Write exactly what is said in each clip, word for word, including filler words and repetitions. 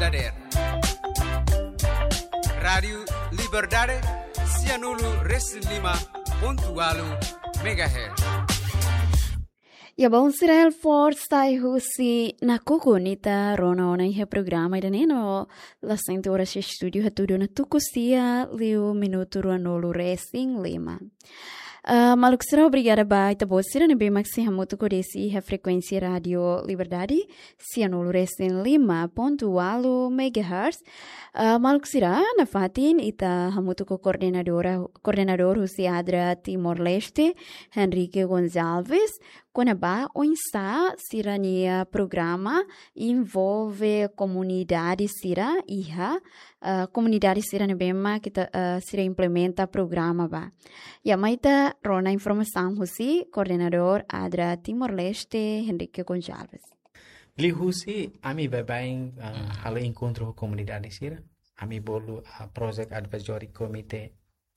Dader. Rádiu Liberdade, sianulu resin lima pontu ualu megahertz. Ya, bom, sira el forsa i husi nakukun ita rona ona iha programa ida-ne'e no la sente oras estúdiu hatudu ona tuku sia liu minutu ruanulu resin lima. Ah, maluk sira, obrigada ba ita-boot sira ne'ebé mak sei hamutuk ho desi iha frekuénsia Rádiu Liberdade, sianulu resin lima pontu ualu megahertz. Ah, maluk sira, nafatin ita hamutuk ho koordenadora, koordenadór husi ADRA Timor-Leste, Henrique Gonçalves, kona-ba oinsá sira-nia programa envolve komunidade sira iha, ah, komunidade sira ne'ebé mak ita, ah, sira implementa programa ba. Ya, mai ita rona informasaun husi koordenadór ADRA Timor-Leste, Henrique Gonçalves. Liuhusi ami baibain, ah, halo enkontru ho komunidade sira. Ami bolu, ah, Project Advisory Committee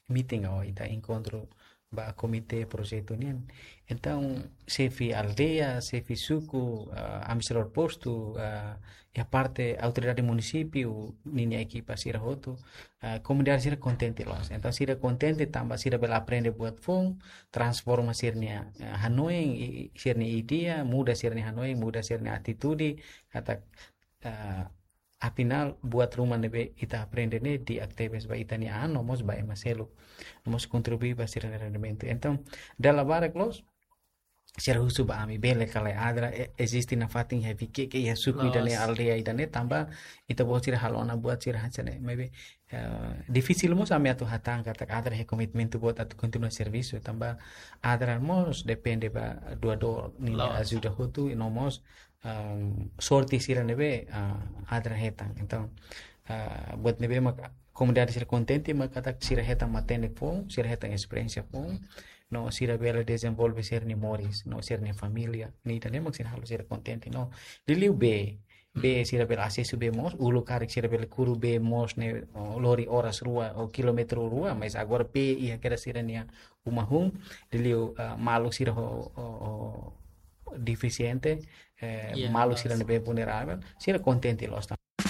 meeting ou ita enkontru ba komité projetu nian. Entaun, xefe aldeia, xefe suku, ah, administradór postu, ah, iha parte autoridade munisípiu, ninia ekipa sira hotu, ah, komunidade sira kontente loos. Entaun, sira kontente tanba sira bele aprende buat foun, transforma sira-nia, ah, hanoin, i, i, sira-nia ideia, muda sira-nia hanoin, muda sira-nia atitude, katak, ah, afinál, buat ruma ne'ebé ita aprende ne'e di'ak tebes ba ita-nia an, no mós ba ema seluk, no mós kontribui ba sira-nia rendimentu. Entaun, dala barak loos, sira husu ba ami bele ka lae ADRA, e-, eziste nafatin iha Viqueque, iha suku ida-ne'e, loos, aldeia ida-ne'e, tanba ita-boot sira halo ona buat sira hanesan ne'e, maibé, eh, difisil mós ami atu hatán katak ADRA iha komitmentu boot atu kontinua servisu, tanba ADRA mós depende ba doadór ninia, loos, ajuda hotu, no mós, um, sorte sira ne'ebé, ah, ADRA hetan. Entaun, ah, buat ne'ebé mak komunidade sira kontente, mak katak sira hetan matenek foun, sira hetan esperiénsia foun, no sira bele dezenvolve sira-nia moris, no sira-nia família, ne'e ida-ne'e mak sira halo sira kontente, no. Liuliu bee, bee sira bele asesu bee moos, uluk karik sira bele kuru bee moos ne'e, oh, lori oras rua, ou kilómetru rua, mas agora bee iha kedas sira-nia uma hun, liuliu, ah, maluk sira ho, ho, ho defisiente, eh, ya, maluk sira, loos, ne'ebé vulneravel, sira kontente loos.